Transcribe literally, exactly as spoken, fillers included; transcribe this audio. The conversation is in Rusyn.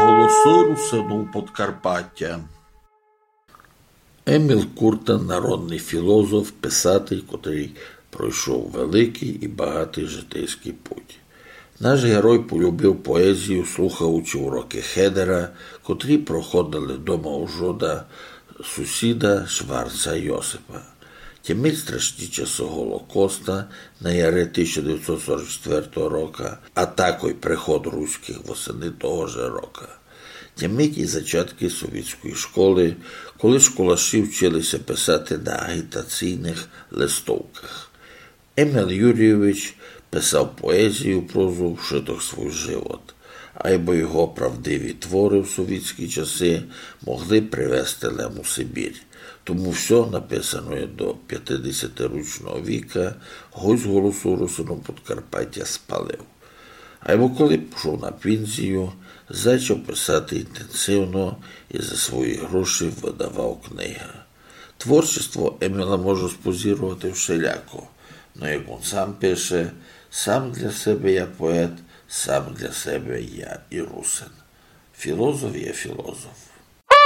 Голосы русинув Подкарпатя. Еміл Куртен, народный філозоф, писатель, котрый пройшов великый і багатый житейськый путь. Наш герой полюбив поезію, слухаючи уроки Хедера, котрі проходили дома у Жода, сусіда Шварца Йосипа. Тямить страшні часы Голокоста на яри тисяча девятьсот сорок четвертого рока, а такой приход руськых восени того же рока. Тямить і зачаткы совітської школы, коли школаші вчили ся писати на агітаційных листовках. Еміл Юрійович писав поезію, прозу вшыток свій живот, айбо його правдиві творы в совітські часы могли привезти лем у Сибір. Тому всьо написаноє до пятидесятирічного віка гость Голосу русинув Подкарпатя спалив. Айбо коли пішов на пензію, зачав писати інтензивно і за свої гроші выдавав книгы. Творчество Еміла може спозіровати вшеляко, но, як он сам пише: «Сам для себе я поет, сам для себе я і русин». Філозоф є філозоф.